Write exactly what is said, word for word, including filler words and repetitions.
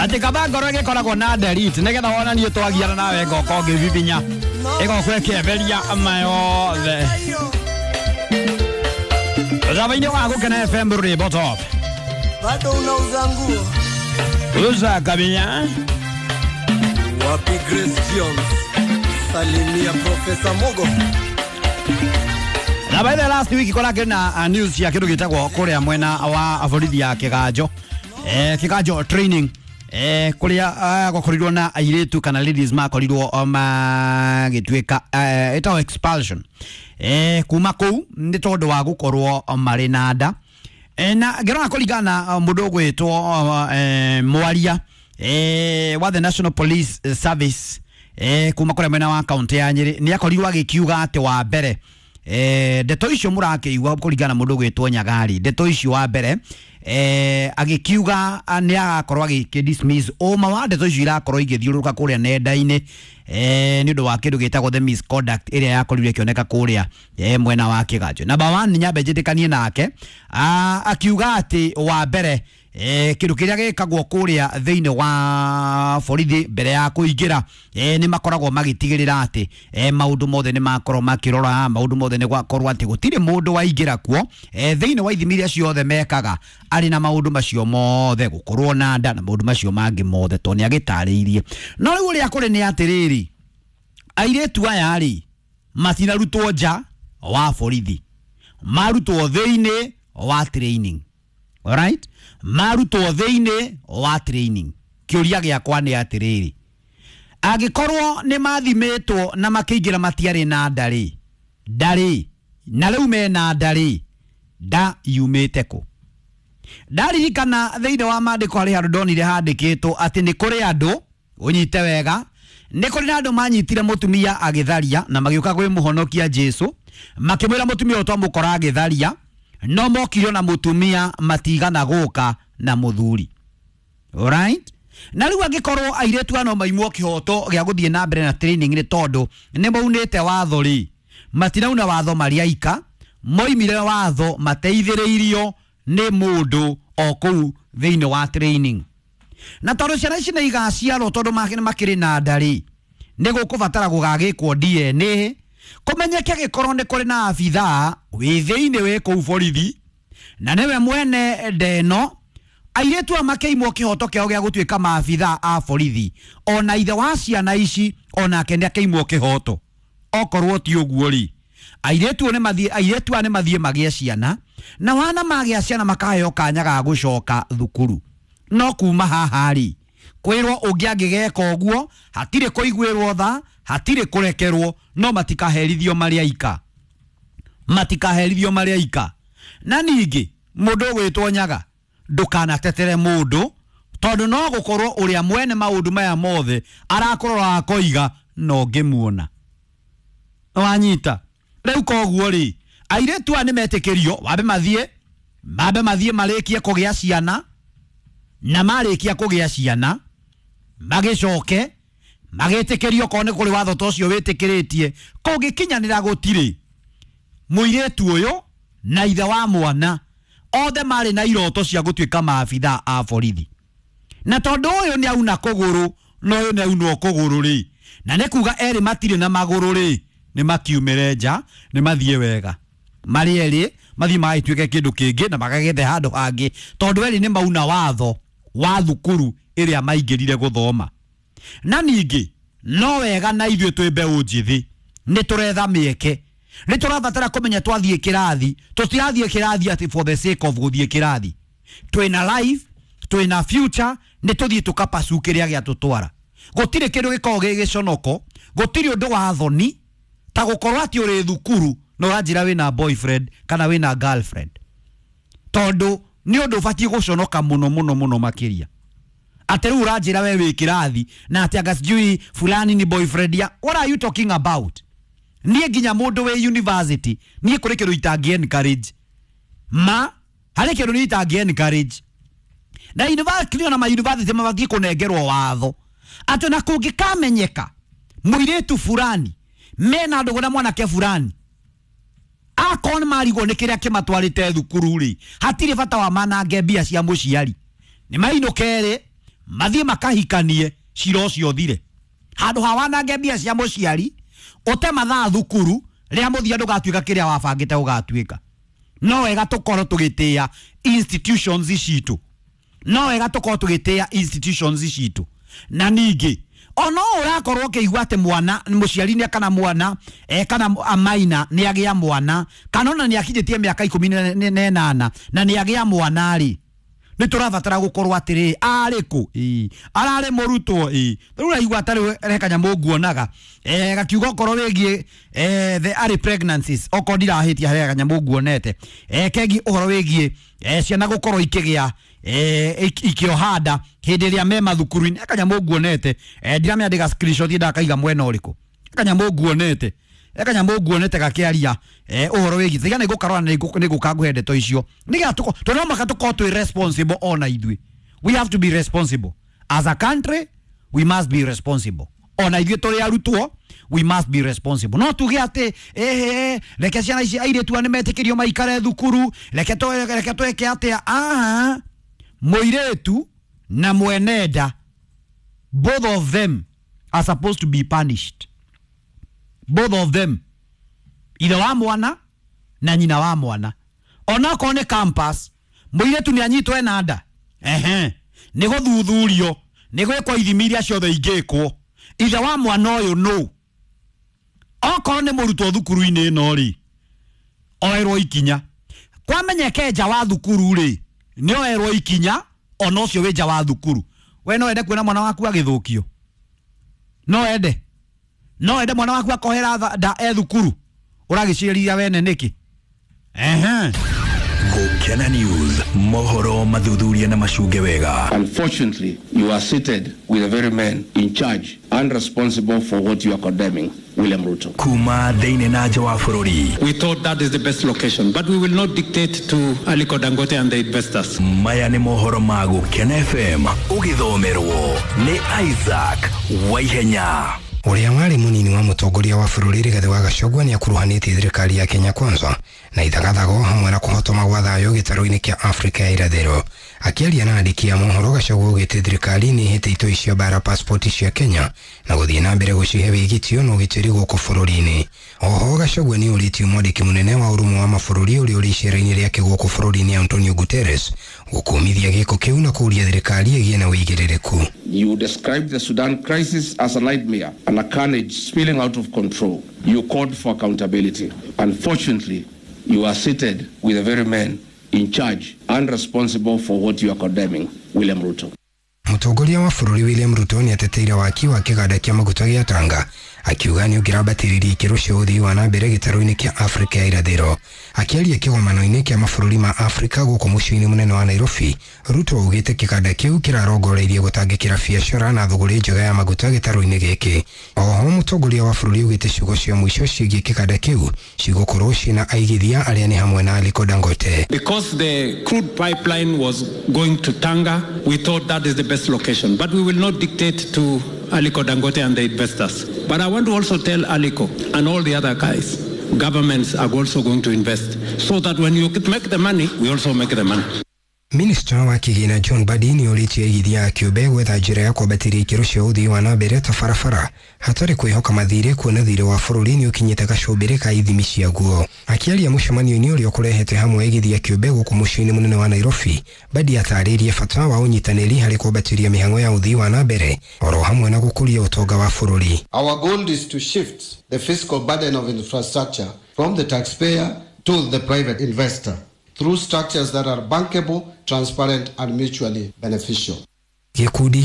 Ati kaba ngoro ĩgĩkoragwo na delete nĩgetha wonanie twagiana nawe ngoka ũngĩbibinya ĩgoka ĩkĩeberia mayothe. Thaba-inĩ wa Gũkena F M rwĩmbo top. Bado unauza nguo. Uza kabia. Wapi Grace Jones? Salimia Professor Mogo. Na by the last week kora kena news ya kindu gitagwo kuria mwena wa borithi ya Kiganjo. Eh Kiganjo training. Eh kuria gwakorirwo na airitu kana ladies makorirwo magituika eh itawo expulsion. Eh kuma kuu ni tondu wa gukorwo mari na nda. Eh na ngirona kuringana mundu ugwitwo eh mwaria eh wa the National Police Service eh kuma kuria mwena wa county ya Nyeri ni akorirwo agikiuga ati wa mbere eh ndeto icio murakiigua kuringana mundu ugwitwo Nyagari ndeto icio wa mbere eh agikiuga ni agakorwo agiki dismiss uma wa ndeto icio irakorwo igithiururuka kuria nenda-ini eh ni undu wa kindu gitagwo the misconduct iria yakorirwo ikioneka kuria eh mwena wa Kiganjo. Number one nyambe njitikanie nake akiuga ati wa mbere eh kindu kiria gikagwo kuria thiini wa borithi mbere ya kuingira eh ni makoragwo magitigirira ati eh maundu mothe ni makorwo makirora maundu mothe ni gwakorwo ati gutiri mundu waingira kuo eh thiini wa ithimi iria ciothe mekaga ari na maundu macio mothe gukorwo na nda na maundu macio mangi mothe to ni agitariirie. No riu uria kuri ni atiriri airetu aya ri matinarutwo nja wa borithi marutwo thiini wa training. Alright? Marutwo thiini wa training. Kiuria giakwa ni atiriri angikorwo ni mathimitwo na makiingira matiari na ndari ndari na riu mena ndari nda yumite ku. Ndaririkana thiini wa maandiko hari handu ndonire handikitwo ati ni kuri andu unyite wega ni kuri na andu manyitire mutumia agitharia na magiuka gwi muhonokia Jesu makimwira mutumia utwamukora agitharia no mokire na mutumia matigana guka na muthuri. Alright? Na riu angikorwo airetu ano maimwo kihoto gia guthie na mbere na training ni tondu ni maunite watho ri matirauna watho mariaika moimire watho mateithiriirio ni mundu o kuu thiini wa training. Na tondu ciana ici ni igaciarwo tondu makiri na ndari ni gukubatara gugagikwo D N A kumenyeke gikorwo ni kuri na abithaa wi thiini wi kuu borithi na niwe mwene ndeno airetu a makeimwo kihoto kiao gia gutuika maabithaa a borithi ona ithe wa ciana ici onake ni akeimwo kihoto. Okorwo ti uguo ri airetu ni mathie airetu a ni mathie magie ciana na wana magia ciana makaheo kanya ga gucoka thukuru. No kuma haha ri kwirwo ungi angigeka uguo hatire kuiguirwo tha hatire kurekerwo no matikaherithio mariaika matikaherithio mariaika. Na ningi mundu ugwitwo Nyaga ndukanatetere mundu tondu no gukorwo uria mwene maundu maya mothe arakorora akoiga no ngimuona wanyita. Riu koguo ri airetu aya nimetikirio wambe mathie mambe mathie marikie kugia ciana na marikia kugia ciana magicoke magitikirio ko ni kuri watho ta ucio witikiritie kungikinyanira gutiri muiretu uyu na ithe wa mwana othe mari na iroto cia gutuika maabithaa a borithi. Na tondu uyu ni auna kuguru na uyu ni aunwo kuguru ri na ni kuga eri matire na maguru ri ni makiumire nja ni mathie wega mari eri mathie magituike kindu kingi na magagethe handu hangi tondu eri ni mauna watho wa thukuru iria maingirire guthoma. Na ningi no wega na ithuĩ twĩ mbeũ njithi ni turetha mieke ni turabatara kumenya twathie kirathi tutirathie kirathi ati for the sake of guthie kirathi twina life twina future ni tuthie tukapasu kiria gia tutwara. Gutire kindu gikoragwo gi giconoko gutire undu wa thoni ta gukorwo ati uri thukuru no uranjira wina boyfriend kana wina girlfriend tondu ni undu ubatie guconoka muno muno muno makiria ati riu uranjira we wi kirathi na ati anga sijui fulani ni boyfriend ya what are you talking about? Nie nginya mundu we university nie kuri kindu itangi encourage ma hari kindu ni itangi encourage na university na ma university mabatie kunengerwo watho ati na kungikamenyeka muiritu fulani mena ndugu na mwanake fulani akon marigwo ni kiria kimatwarite thukuru ri hatiri bata wa manange mbia cia muciari ni mainukere Mathiĩ makahikanie cira ũcio ũthire. Handũ ha wanange mbia cia mũciari, ũte mathaa thukuru, rĩrĩa mũthia ndũgatuĩka kĩrĩa wabangĩte ũgatuĩka. No wega tũkorwo tũgĩtĩĩa institutions citũ. No wega tũkorwo tũgĩtĩĩa institutions citũ. Na ningĩ ono ũrakorwo ũkĩigua atĩ mwana mũciari nĩ kana mwana eh, kana amaina nĩ agĩa mwana kana ona nĩ akinyĩtie mĩaka ikũmi na ĩnana na nĩ agĩa mwana rĩ, nĩ tũrabatara gũkorwo atĩrĩ arĩ kũ? Ĩĩ, ararĩ mũrutwo? Ĩĩ. Rĩu ũraigua tarĩ he kanyamũ nguonaga eh, gakiuga okorwo wĩgiĩ eh, the early pregnancies, okorwo ndirahĩtia he kanyamũ nguonete eh, kegiĩ ũhoro wĩgiĩ eh, ciana gũkorwo ikĩgĩa eh, ikĩoha nda hĩndĩ ĩrĩa me mathukuru-inĩ. Kanyamũ nguonete eh, ndiramenya ndĩga screenshot ndakaiga mwena ũrĩkũ. Kanyamũ nguonete kanyamũ nguonete gakĩaria eh, ũhoro wĩgiĩ tiga nĩ ngũkarora nĩ ngũka ngũhe ndeto icio nĩgetha tũko tondũ no mũhaka tũkorwo twĩ responsible ona ithuĩ. We have to be responsible as a country, we must be responsible ona ithuĩ tũrĩ arutwo, we must be responsible. No tuge atĩ ehe, reke ciana ici airĩtu nĩ metĩkĩrio maikare thukuru, reke reke twĩke atĩa. Aha, mũirĩtu na mwene nda, both of them are supposed to be punished. Both of them, ithe wa mwana na nyina wa mwana. Onakorwo nĩ campus, mũirĩtu nĩ anyitwo ena nda, ehe, nĩ gũthuthurio, nĩ gwĩkwo ithimi iria ciothe ingĩkwo. Ithe wa mwana ũyũ nũ? Okorwo nĩ mũrutwo thukuru-inĩ ĩno rĩ, oerwo ikinya. Kwamenyeke nja wa thukuru rĩ, nĩ oerwo ikinya ona ũcio wĩ nja wa thukuru. We no wende kuona mwana waku agĩthũkio? No wende? No wende mwana waku akohera nda e thukuru? Ũragĩciria wene nĩkĩ? Ehe. Gukena News, mohoro mathuthuria na macunge wega. Unfortunately, you are seated with the very man in charge and responsible for what you are condemning, William Ruto. Kuma thĩinĩ na nja wa bũrũri. We thought that is the best location, but we will not dictate to Aliko Dangote and the investors. Maya nĩ mohoro ma Gukena F M, ũgĩthomerwo nĩ Isaac Waihenya. Ũrĩa warĩ mũnini wa mũtongoria wa bũrũri Rigathĩ wa Gachagua nĩ akuruhanĩtie thirikari ya Kenya Kwanza na ithagathago hamwe na kũhotoma gwa thayũ gĩtarũ-inĩ kĩa Afrika ya irathĩro. Akĩaria na andĩki a mohoro, Gachagua augĩte thirikari nĩ ĩhĩte itoi cia bara passport cia Kenya na gũthiĩ na mbere gũcihe wĩgitio na ũgitĩri gũkũ bũrũri-inĩ. Oho Gachagua nĩ ũrĩtie mwandĩki mũnene wa ũrũmwe wa mabũrũri ũrĩa ũrĩ icera-inĩ rĩake gũkũ bũrũri-inĩ Antonio Guterres gũkũmithia gĩko kĩu na kũũria thirikari ĩgĩe na ũigĩrĩrĩku. You described the Sudan crisis as a nightmare and a carnage spilling out of control. You called for accountability. Unfortunately, you are seated with the very man in charge and responsible for what you are condemning, William Ruto. Mũtongoria wa bũrũri William Ruto nĩ ateteire waki wa kĩganda kĩa maguta gĩa Tanga akiuga nĩ ũngĩrambatĩrĩria ikĩro cia ũthii wa na mbere gĩtarũ-inĩ kĩa Afrika ya irathĩro. Akĩaria kĩgomano-inĩ kĩa mabũrũri ma Afrika gũkũ mũciĩ-inĩ mũnene wa Nairobi, Ruto augĩte kĩganda kĩu kĩrarongoreirie gũtangĩkĩra biacara na thũgũrĩ njega ya maguta gĩtarũ-inĩ gĩkĩ. Oho mũtongoria wa bũrũri augĩte ciugo cia mũico ciĩgiĩ kĩganda kĩu cigũkorwo ciĩna aigithia arĩa nĩ hamwe na Aliko Dangote. Because the crude pipeline was going to Tanga, we thought that is the best location, but we will not dictate to Aliko Dangote and the investors. But I want to also tell Aliko and all the other guys, governments are also going to invest, so that when you make the money, we also make the money. Minista wa kĩgĩna John Mbadi nĩ ũrĩtie aigithia a kĩũmbe gwetha njĩra ya kwambatĩria ikĩro cia ũthii wa na mbere ta barabara hatarĩ kwĩhoka mathirĩ, kuona thirĩ wa bũrũri nĩ ũkinyĩte gacũmbĩrĩ ka ithimi ciaguo. Akĩaria mũcemanio-inĩ ũrĩa ũkũrehete hamwe aigithia kĩũmbe gũkũ mũciĩ-inĩ mũnene wa Nairobi, Mbadi atarĩirie bata wa ũnyitanĩri harĩ kwambatĩria mĩhang'o ya ũthii wa na mbere oro hamwe na gũkũria ũtonga wa bũrũri. Our goal is to shift the fiscal burden of infrastructure from the taxpayer to the private investor through structures that are bankable, transparent and mutually beneficial. Gĩkundi